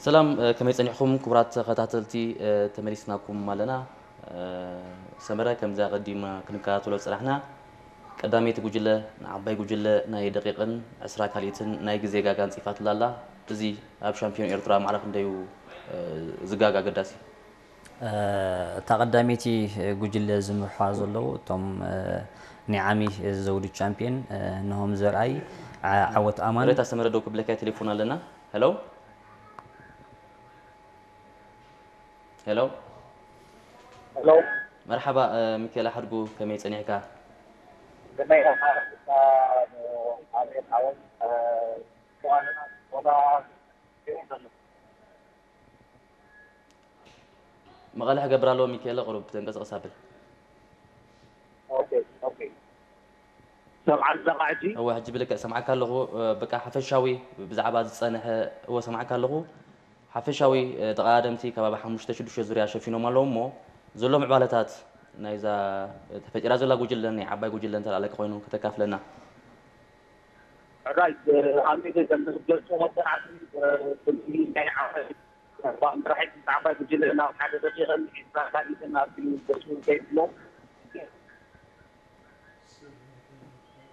ሰላም፣ ከመይ ጸኒሕኩም ክቡራት ተኸታተልቲ? ተመሊስናኩም ኣለና። ሰመረ፣ ከምዚ ኣቐዲምና ክንከታተሎ ዝጸናሕና፣ ቀዳመይቲ ጉጅለ ንዓባይ ጉጅለ ናይ ደቂቕን ዕስራ ካልኢትን ናይ ግዜ ጋጋ ኣንጺፋትላ ኣላ። እዚ ኣብ ሻምፒዮን ኤርትራ ማዕረ ክንደዩ ዝጋጋ ኣገዳሲ? እታ ቀዳመይቲ ጉጅለ ዝምርሕዋ ዘለዉ እቶም ናይ ዓሚ ዘውዲ ቻምፒየን፣ ንሆም ዘርኣይ፣ ዓወት ኣማን። ሬታ ሰመረ ደው ክብለካ ቴሌፎን ኣለና። ሄሎ፣ ሄሎ። ሄሎ። መርሓባ፣ ሚካኤል ሓድጉ፣ ከመይ ጸኒሕካ? ከመይ ኢኻ? ኣቤት ዓወት። መቐለ ክገብር ኣለዎ። ሚካኤለ፣ ቁሩብ ተንቀሳቐስ ኣብል። ኦኬ፣ ኦኬ። ሰምዓኒ ኣለኻ ሕጂ? እወ፣ ሕጂ ብልክዕ ሰምዓካ ኣለኹ። በቃ ሓፈሻዊ ብዛዕባ ዝጸንሐ፣ እወ፣ ሰምዓካ ኣለኹ። ሓፈሻዊ ተቐዳደምቲ ከባቢ ሓሙሽተ ሽዱሽተ ዙርያ ሸፊኖም ኣለዉ እሞ፣ ዘሎ ምዕባለታት ናይዛ ተፈጢራ ዘላ ጉጅለ፣ ናይ ዓባይ ጉጅለ እንተ ኣለካ ኮይኑ ከተካፍለና። ሕራይ፣ ኣብ ሚድያ ከም ዝገልጾ ወጥራት፣ ፍልፍል ናይ ዓባይ፣ መራሒት ዓባይ ጉጅለ ናብ ሓደ ደቂቕን ዒስራ ካልኢትን ኣብቲ ገጹ ከይድሎ፣